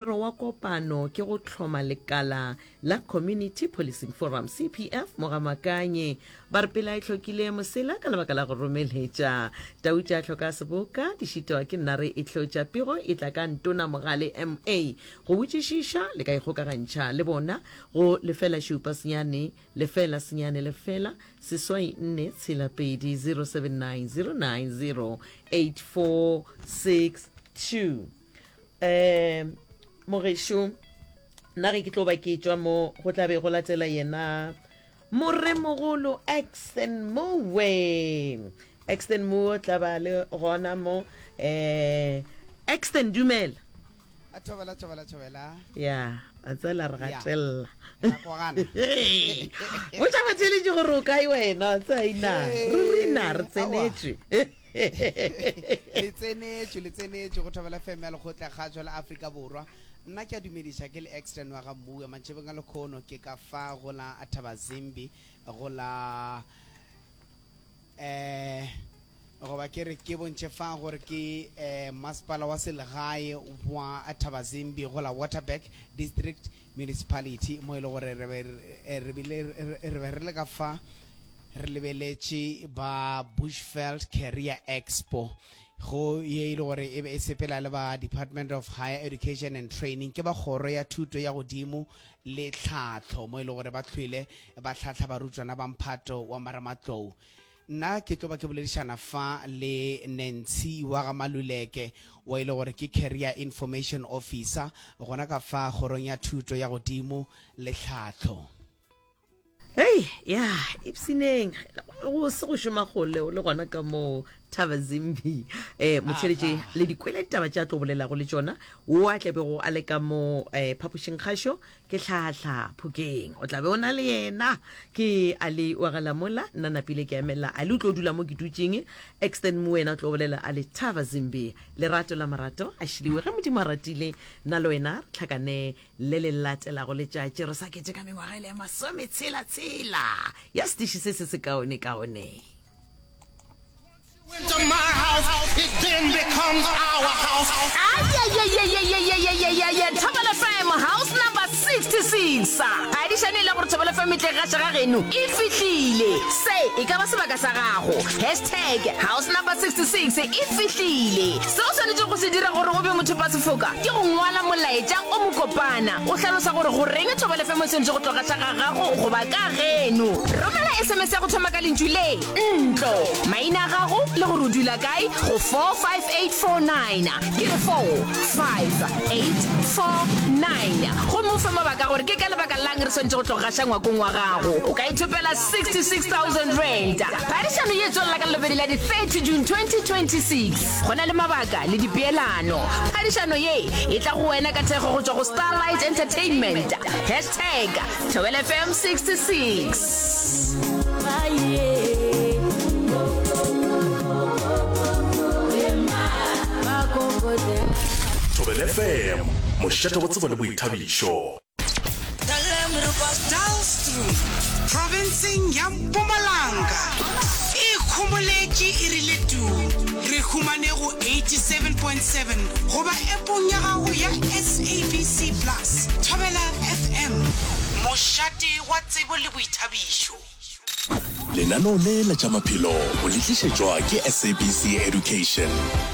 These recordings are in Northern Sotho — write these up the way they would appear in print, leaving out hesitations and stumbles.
Morero wa kopano ke go hloma lekala la Community Policing Forum, CPF, mo Ga-Makanye. Ba re pela e hlokile mosela ka lebaka la go romeletša. Tau tša hloka seboka, di šitwa ke nare e hlotša. Pego e tla ka Ntona Mogale MA. Go botšišiša le ka ikgokagantšha le bona go lefela šupa senyane lefela senyane lefela seswai nne tshela pedi 079 090 8462. Um mogešo nna ge ke tlo ba ke tšwa mo go tla be go latela yena moremogolo Exton Mowe. Exton Mowe tla ba le gona mo. Um Exton dumela. A thobela thobela thobela. Ya, a tsela re gatelela. Botša batheeletši gore o kae wena, tsaina. Ruri na re tsenetšwe. Le tsenetšwe, le tsenetšwe go Thobela FM ya Lekgotla Kgašo la Afrika Borwa. Nna ke a dumediša ke le Exton wa ga Mmuwe. Mantšibeng a lekhono ke ka fa go la Thabazimbi go la eh goba ke re ke bontšhe fa gore ke eh masepala wa selegae wa Thabazimbi go la Waterberg District Municipality mo e le gore re be re bile re be re le ka fa Re lebeletše ba Bushveld Career Expo go ye e le gore e be e sepela le ba Department of Higher Education and Training, ke ba kgoro ya thuto ya godimo le tlhahlo, mo e le gore ba hlwele ba hlahla barutwana ba mphato wa marematlou. Nna ke tlo ba ke boledišana fa le Nancy wa ga Maluleke wa e le gore ke Career Information Officer gona ka fa kgorong ya thuto ya godimo le tlhahlo. Hei, ya, ipsineng. Go se go šoma kgole o le gona ka mo Thabazimbi. Eh, motheletše le di kwele ditaba tša tlo bolelago le tšona. O a tlabego a le ka mo eh, phapošing kgašo ke hlahla phokeng. O tlabe o na le yena. Ke a le wa ga Lamola, nna napile ke emela. A le o tlo dula mo ke dutšeng. Extend mo wena o tlo bolela a le Thabazimbi. Lerato la marato a šiliwe ge Modimo a ratile. Nna le wena re tlhakane Le le latelago letšatši re sa keteka mengwaga e le ya masometshela-tshela ya setiši se se sekaone-kaone. Ayayayayayayayayaya Thobela FM house number 66 Phadišano e le gore Thobela FM e tle gaša ga geno e fihlile Se e ka ba sebaka sa gago Hashtag house number 66 e fihlile Se o swanetšego go se dira gore o be mothopasefoka ke go ngwala molaetša o mokopana o hlalosa gore goreng Thobela FM e swanetše go tlo gaša ga gago goba ka geno. Romela SMS ya go thoma ka lentšu le, ntlo, maina a gago le gore o dula kae go 45849. Ke re 45849. Gomme o fe mabaka gore ke ka lebaka la'ng re swanetše go tlo gaša ngwakong wa gago. O ka ithopela R66,000. Phadišano ye e tswelela ka Lelobedi la di 30 June 2026. Go na le mabaka le dipeelano. Phadišano ye e tla go wena ka thekgo go tšwa go Starlight Entertainment. Hashtag Thobela FM 66. Thobela FM, mošate wa tsebo le boithabišo. Dullstroom, profenseng ya Mpumalanga, e ikhomoletše e rile tuu. Re humane go 87.7 goba appong ya gago ya SABC Plus. Thobela FM, mošate wa tsebo le boithabišo. Lenaneo le la tša maphelo o le tlišetšwa ke SABC Education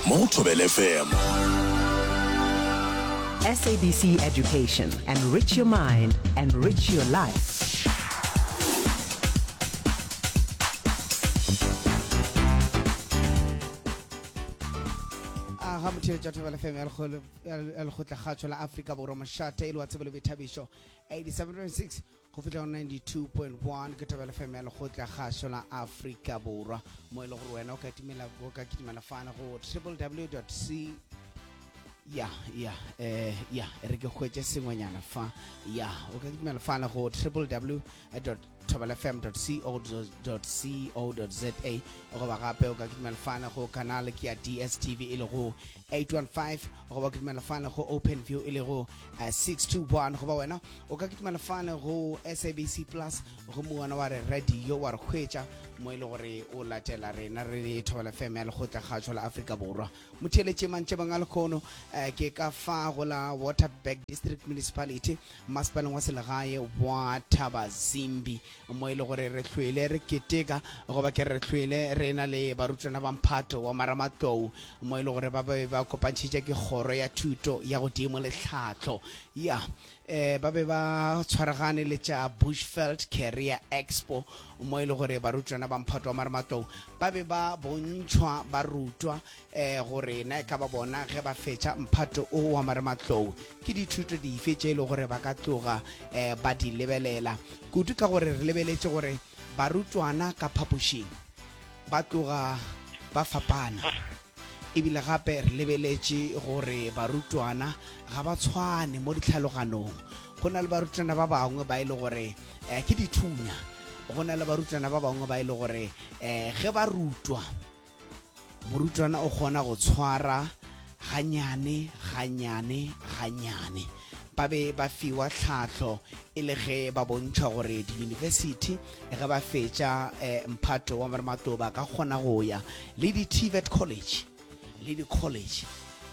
mo go Thobela FM. SABC Education, enrich your mind, enrich your life. A ga motheetša Thobela FM ya Lekgotlakgatšo la Afrika Borwa mošate e le wa tsebo le boithabišo 87.6 Go fihla go 92.1 ke Thobela FM ya Lekgotla Kgašo la Afrika Borwa, mo e le gore wena o ka timela o ka kitimela fana go www.c ya ya eh ya e re ke hwetše sengwenyana fa ya o ka kitimela fana go www. thobelafm.co.co.za goba gape o ka kitimela fane go canal ke ya DSTV e lego 815 goba kitimela fane go Open View e lego 621 eh, goba wena o ka kitimela fane go SABC Plus gomme wena wa re radio wa re hwetša mo e le gore o latela rena re le Thobela FM ya Lekgotla Kgatšo la Afrika Borwa. Motheeletše mantšebang a lekgono eh, ke ka fa go la Waterberg District Municipality masepaleng wa selegae wa Thabazimbi mo e le gore re hlwele re keteka goba ke re hlwele re na le barutwana ba mphato wa maramatlou mo e le gore ba be ba kopantšhitše ke kgoro ya thuto ya godimo le tlhahlo ya eh ba be ba tshwaragane le tša Bushveld Career Expo mo e le gore barutwana ba mphato wa marematlou ba be ba bontšhwa ba rutwa eh gore na e ka ba bona ge ba fetša mphato o wa marematlou ke dithuto dife tše e le gore ba ka tloga eh ba di lebelela kudu ka gore re lebeletše gore barutwana ka phapošing ba tloga ba fapana Ebile gape re lebeletše gore barutwana ga ba tshwane mo ditlhaloganong. Go na le barutwana ba bangwe ba e le gore eh, ke dithunya. Go na le barutwana ba bangwe ba e le gore eh, ge ba rutwa, morutwana o kgona go tshwara ganyane ganyane ganyane. Ba be ba fiwa tlhahlo e le ge ba bontšhwa gore diyunibesithi ge ba fetša eh, mphato wa marematlou ba ka kgona go ya le di-TVET college le di-college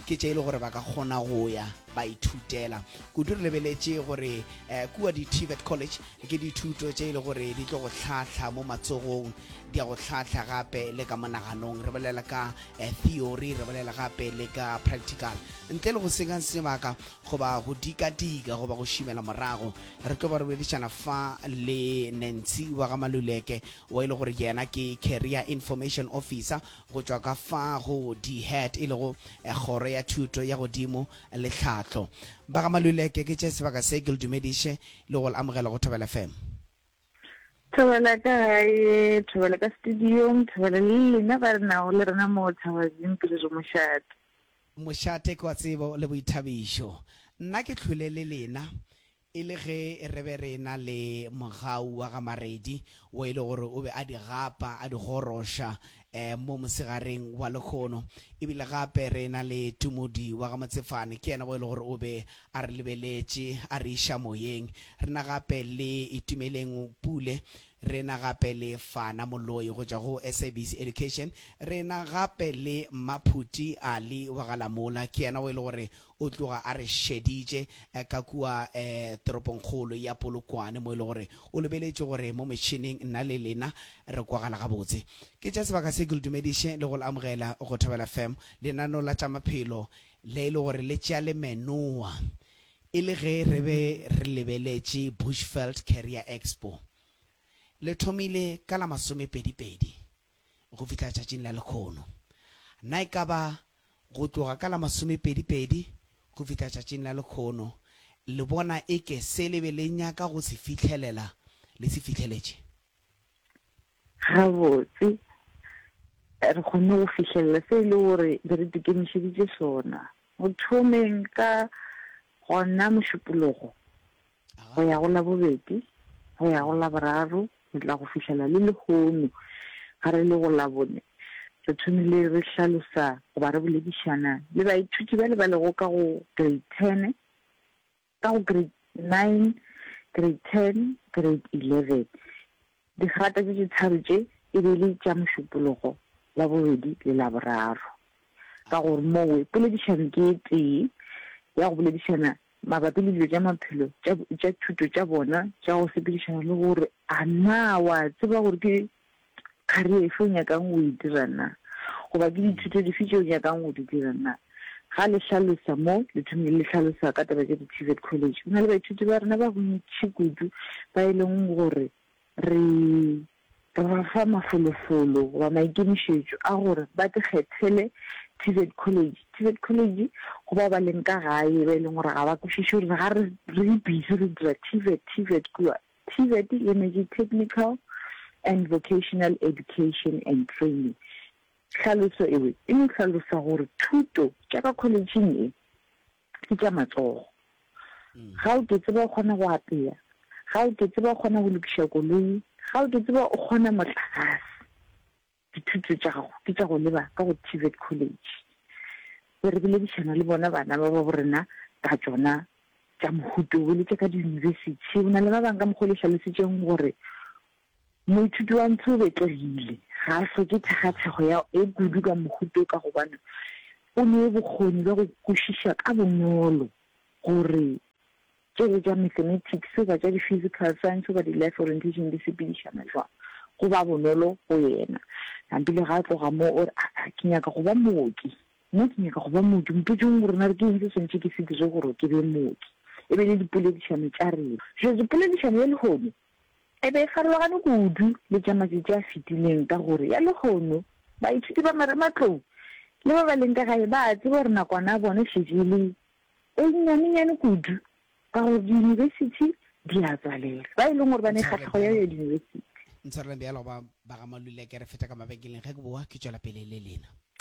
ke tše e le gore ba ka kgona go ya ba ithutela kudu. Re lebeletše gore eh, kua di-TVET college ke dithuto tše e le gore di tlo go hlahla mo matsogong, di a go hlahla gape le ka monaganong. Re bolela ka eh, theory, re bolela gape le ka practical. Ntle le go senya sebaka goba go dikadika goba go šimela morago, re tlo ba re boledišana fa le Nancy wa ga Maluleke wa e le gore yena ke Career Information Officer go tšwa ka fa go DHET e lego eh, kgoro ya thuto ya godimo le tlhahlo. Ba ga Maluleke, ke tše sebaka se ke le dumediše le go le amogela go Thobela FM. Thobela ka gae, thobela ka studiong, thobela le lena ba re nago le rena mo Thabazimbi re re mošate. Mošate ke wa tsebo le boithabišo. Nna ke hlwele le lena e le ge re be re na le Mogau wa ga Maredi wo e le gore o be a di gapa a di goroša mo mosegareng wa lehono. E bile gape re na le Tumodi wa ga Motsefane ke yena wo e le gore o be a re lebeletše a re iša moyeng. Re na gape le Itumeleng Pule Re na gape le Fana Moloi go tšwa go SABC Education. Re na gape le Maphuti Ali wa ga Lamola, ke yena o e le gore o tloga a re šeditše ka kua toropongkgolo ya Polokwane mo e le gore o lebeletše gore mo metšhineng nna le lena re kwagala gabotse. Ke tša sebaka se ke le dumediše le go le amogela go Thobela FM, lenaneo la tša maphelo le e le gore le tšea le menoa E le ge re be re lebeletše Bushveld Career Expo, le thomile ka la masomepedipedi go fihla tšatšing la lekhono. Na e ka ba go tloga ka la masomepedipedi go fihla tšatšing la lekhono le bona eke se le be le nyaka go se fihlelela le se fihleletše? Gabotse, re kgonne go fihlelela se e le gore be re ikemišeditše sona. Go thomeng ka gona Mošupologo go ya go Labobedi, go ya go Laboraro, go tla go fihlela le lehono ga re le go Labone, re thomile re hlalosa goba re boledišana le baithuti bale ba lego ka go Grade ten, ka go Grade 9, Grade 10, Grade 11. Digrata tše tše tharo tše e be e le tša Mošupologo, Labobedi le Laboraro. Ka gore mowe poledišano ke e tee ya go boledišana mabapi le dilo tša maphelo tša, tša thuto tša bona tša go sepedišana le gore a na wa tseba gore ke career efe o nyakang go e dira na, goba ke dithuto dife tše o nyakang go di dira na. Ga le hlalosa mo, le thomile le hlalosa ka taba tša di-TVET college. Go na le baithuti ba rena ba bontši kudu ba e leng gore re re ba fa mafolofolo goba maikemišetšo a gore ba tikgethele TVET college. TVET college go bao ba leng ka gae ba e leng gore ga ba kwešiše gore ga re re busy re dira TVET, TVET kua. TVET e emetše Technical and Vocational Education and Training. Tlhaloso ewe e no hlalosa gore thuto tša ka kholetšheng e ke tša matsogo. Ga o ke tseba o kgona go apea. Ga o ke tseba o kgona go lokiša koloi, ga o ke tseba o kgona motlakase. Dithuto tša gago ke tša go leba ka go TVET College. Be re boledišana le bona bana ba babo rena ka tšona tša mohuta wo le tša ka diyunibesithi. Go na le ba bangwe ka mokgwa o le hlalositšeng gore moithuti wa ntshe o betlegile, ga a hloke thekgathekgo ya e kudu ka mohuta wo ka gobane o ne bokgoni bja go kwešiša ka bonolo gore Tšele tša Mathematics goba tša di-Physical Science goba di-Life Orientation di sepedišana jwang? Go ba bonolo go yena. Nampile ga a tloga mo o re, Aa, ke nyaka go ba mooki. Nna ke nyaka go ba mooki. Mpotšeng gore na ke eng se swanetše ke se dire gore ke be mooki. E be le dipoledišano tša rena. Jwale poledišano ya lehono e be e farologane kudu le tša matšatši a fetileng ka gore ya lehono baithuti ba marematlou le ba ba leng ka gae ba a tseba gore nakwana ya bona e šetše e le E nnyanenyane kudu ka gore diyunibesithi di a tswalelwa. Ba e leng gore ba ne kgahlego ya go ya diyunibesithi. Ntshwareleng bjalo ba ba ga Maluleke re feta ka mabenkeleng ge ke boa ke tšwela pele le lena.